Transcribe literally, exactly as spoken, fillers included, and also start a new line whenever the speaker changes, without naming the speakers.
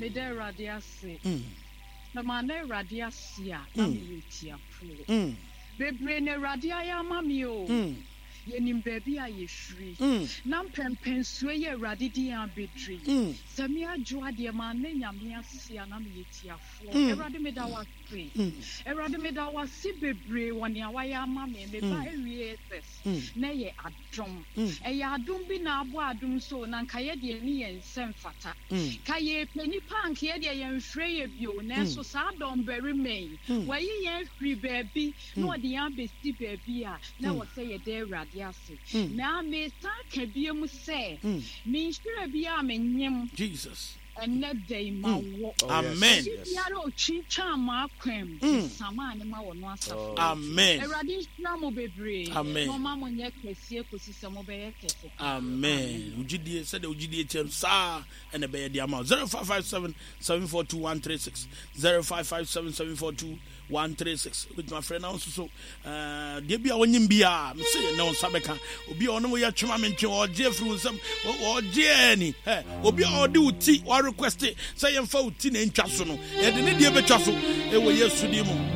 Meda Awurade ase.
Mm.
Sɛ manna Awurade ase a, na
Mm.
meyɛ tiafoɔ.
Mm.
Bebree na Awurade ayɛ ama me o.
Mm.
Yɛnim baabi a yɛfiri.
Mm.
Na mpɛmpɛnsoɔ yi a Awurade de yɛn abɛduru yi,
Mm.
sɛ me adwo adeɛ manna Nyame ase a, na meyɛ tiafoɔ.
Mm.
Awurade, meda wo ase.
Mm.
Awurade, meda wo ase bebree wɔ nea wayɛ ama me. Meba
Mm.
awie S S
Mm.
na ɛyɛ adom.
Mm.
Ɛyɛ adom bi na abɔ adom so na nka yɛ deɛ ne yɛn nsa mfata.
Mm.
Ka yɛpɛ nipa a nka yɛ deɛ yɛmfrɛ yɛ bio, nanso saa dɔmbarima yi,
Mm.
wayi yɛn afiri baabi na
Mm.
ɔde yɛn abɛsi baabi a na
Mm.
wɔ sɛ yɛda Awurade ase.
Mm.
Na mesan ka bio mu sɛ
Mm.
menhyira bi a menyem
Jesus.
ɛnnɛ da yi ma
Mm.
wɔ.
Oh,
Amen.
yes.
Obi
Yes.
biara a otwintwan m'akwan mu,
Mm.
mesamaa ne ma wɔ no asafo.
Oh,
Amen.
Awurade nhyira mo bebree
Amen.
na ɔma mo nyɛ kɛseɛ kɔsi sɛ mobɛyɛ kɛse paa.
Amen. Wogidie sɛdeɛ wogidie kyɛ no saa ɛna ɛbɛyɛ de ama wo. zero five five seven seven four two one three six, zero five five seven seven four two one three six. Wobɛtumi afrɛ na wo nso so eh, deɛ bi a wonyim biaa mese ne wo nsa bɛka. Obi a ɔne wo yɛ twema mentwe, ɔgye afiri wo nsɛm, ɔgye ani. Obi a ɔde wo ti warequest sɛ yɛmfa wo ti na ɛntwa so no, yɛde ne deɛ bɛtwa so ɛwɔ Yesu din mu.